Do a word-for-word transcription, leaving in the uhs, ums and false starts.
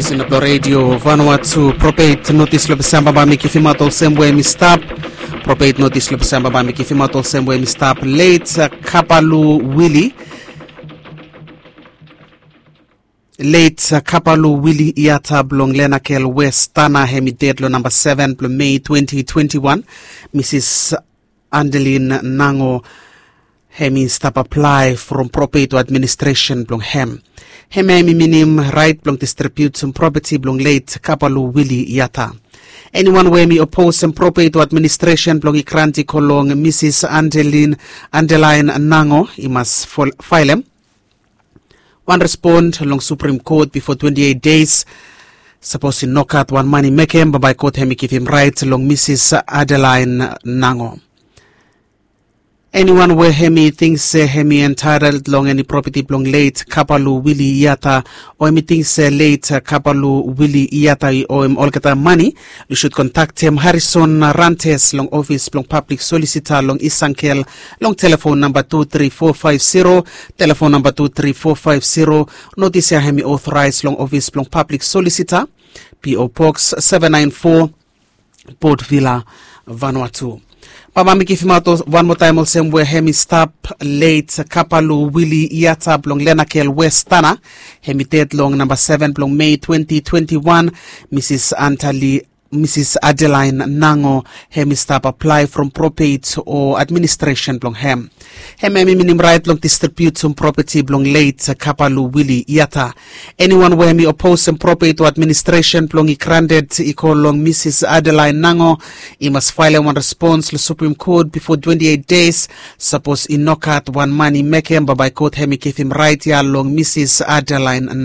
Sina blong redio Vanuatu, propet notis long Desemba bai mi givimaot olsem we mi stap. Propet notis long Desemba bai mi givimaot olsem we mi stap. Leit Kapalu Wili. Leit Kapalu Wili Iata blong Lenakel West Tana, hem i ded long namba seven blong Mei twenty twenty-one. Misis Andelin Nango, hem i stap aplae from propet o administresen blong hem. Hemia hem i minim rait blong distribiutim propeti blong leit Kapalu Wili Iata. Eniwan we hem i opos hem propet o administresen blong i grant i go long Misis Andelin Andelain Nango, i mas faelem wan respon long Supreme Kot bifo twenty-eight des. Sapos i nogat wan man i mekem, bambae kot hem i givim rait long Misis Adelain Nango. Eniwan we hem i ting se hem i entaetol long eni propeti blong leit Kapalu Wili Iata, o hem i ting se leit Kapalu Wili Iata i oem olgeta mane, yu sud kontaktem Harison Rantes long ofis blong pablik solisita long Isangel long telefon namba tu tri fo faef siro, telefon namba tu tri fo faef siro. Notis ya hem i otoraes long ofis blong pablik solisita, P O Box seven nine four, Port Vila, Vanuatu. Bambae mi givimaot wan moa taem olsem we hem i stap, leit Kapalu Wili Iata blong Lenakel West Tana, hem i ded long namba seven blong Mei twenty twenty-one. Misis Antali Misis Adelain Nango, hem i stap aplae from propet o administresen blong hem. Hemia hem i minim rait long distribiutim propeti blong leit Kapalu Wili Iata. Eniwan we hem i oposem propet o administresen blong i granted i go long Misis Adelain Nango, i mas faelem wan respons long Supreme Kot bifo twenty-eight des. Sapos i nogat wan man i mekem, bambae kot hem i givim rait ya long Misis Adelain Nango.